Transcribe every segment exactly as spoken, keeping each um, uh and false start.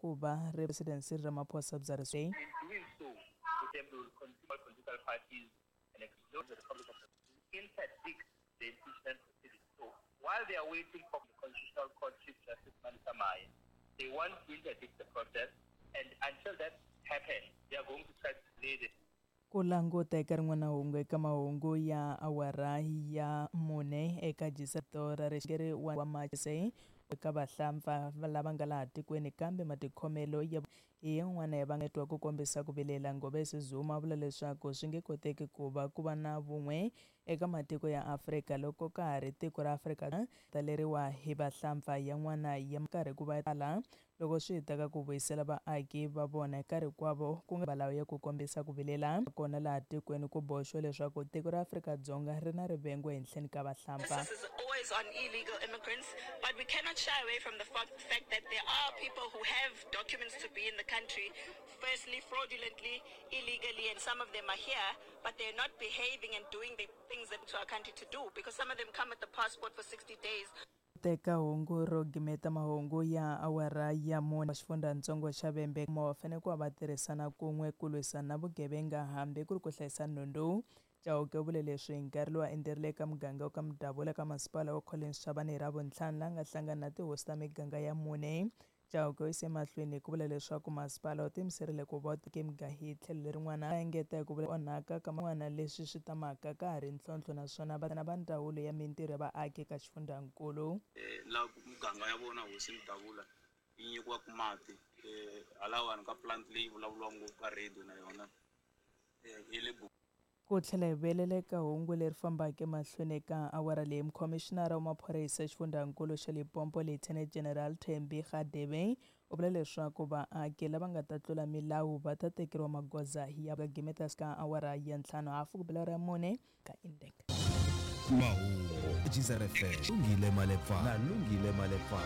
ku va President Cyril Ramaphosa bya In doing so, they will continue political parties and explode the Republic of interdict the impeachment proceedings. So while they are waiting for the Constitutional Court Chief Justice Manasa Maya, they want to interdict the process, and until that happens, they are going to try to delay the Ku languta eka rin'wana hungu eka mahungu ya awara ya mune eka jiseto ra rixeri wa mase eka vahlampfa lava nga laha tikweni kambe matikhomelo ya hi yin'wana ya va twa ku kombisa ku vilela. Ngobese Zuma vula leswaku swi nge koteki ku va ku va na vun'we eka matiko ya Afrika loko ka ha ri tiko ra Afrika taleriwa hi vahlampfa yan'wana ya karhi ku va tala loko swi ta ka ku vuyisela vaaki va vona eka rikwavo ku nga valawu ya ku kombisa ku vilela kona laha tikweni ku boxiwa leswaku tiko ra Afrika-Dzonga ri na rivengo ehenhleni ka vahlampfa. This is always on illegal immigrants, but we cannot shy away from the fact that there are people who have documents to be in the country, firstly fraudulently, illegally, and some of them are here, but they're not behaving and doing the things that to our country to do, because some of them come with the passport for sixty days. Teka hungu ro gimeta mahungu ya awara ya mune xifundzhantsongo xa Vhembe va fanele ku va va tirhisana kun'we ku lwisana na vugevenga hambi ku ri ku hlayisa nhundzu. Chauke u vule leswi hi nkarhi lowu a endzerile eka muganga wa ka Mudabula ka masipala wa Collins Chabane hi Ravuntlhanu laha nga hlangana na tihosi ta miganga ya mune. Chauke u yise emahlweni hi ku vula leswaku masipala wu tiyimiserile ku va tike miganga hi tlhelo lerin'wana a engeta hi ku vula onhaka ka man'wana leswi swi tamaka ka ha ri ntlhontlho naswona va na va ndzawulo ya mintirho ya vaaki eka xifundzhankulu. Laha muganga ya vona hosi Mudabula yi nyikiwaka mati halawani ka plant leyi vulavuriwaka ngopfu ka radio na yona yi le Ku tlhela hi vuyelela eka hungu leri fambaka emahlweni eka awara leyi, mukhomishinara wa maphorisa exifundzhankulu xa Limpopo Lieutenant General Thembi Radebe u vula leswaku vaaki lava nga ta tlula milawu va ta tekeriwa magoza ya gimeta ka awara ya ntlhanu hafu ku bela awara ya mune ka Indeka. Mahungu G Z F M Lungile Malepa na Lungile Malepa.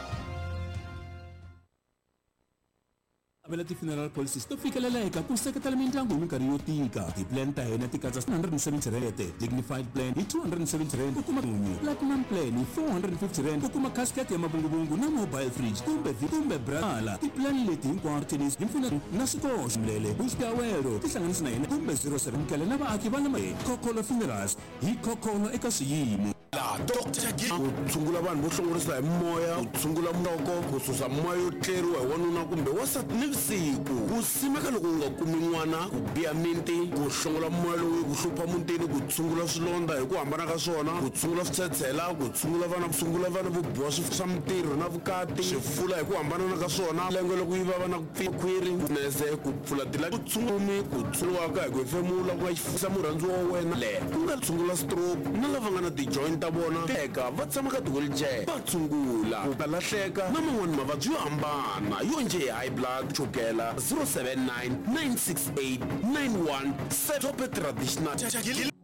Avela ti-funeral policies to fikeleleka ku seketela mindyangu hi minkarhi yo tika. Ti-plan ta hina ti katsa one hundred and seventy rand, dignified plan hi two hundred and seventy rand ku kuma munyu, platinum plan hi four hundred and fifty rand ku kuma casket ya mavunguvungu na mobile fridge kumbe kumbe brala. Ti-plan leti hinkwato tennis hi mpfuneto na swikoxo mlele buxikawelo tihlanganisi na hina kumbe zero seven kele na vaaki va le Khokholo Funerals hi khokholo eka swiyimo. La Doctor G ku tshungula vanhu vo hlongorisa hi moya, ku tshungula nhloko, ku susa moya yo tleriwa hi wanuna kumbe wansati nivusiku, ku simeka loko u nga kumi n'wana, ku biha minti, ku hlongola moya lowu ku hlupha mutini, ku tshungula swilondza hi ku hambana ka swona, ku tshungula switshetshela, ku tshungula vana, ku tshungula vana vo biwa swa mintirho na vukati, swifula hi ku hambanana ka swona, lenge loko yi vava na ku pfinya khwiri nese, ku pfula tila, ku tshungumi ku tshunguriwaka hi ku hefemula ku nga xifisa murhandziwa wa wena le ku nga tshungula stroke na lava nga na ti-joint ta vona teka va tshama ka ti-wheelchair va tshungula ku lahleka na man'wani mavabyi yo hambana yo njhe hi high blood, chukela. zero seven nine nine six eight nine one seven. Tope Traditional.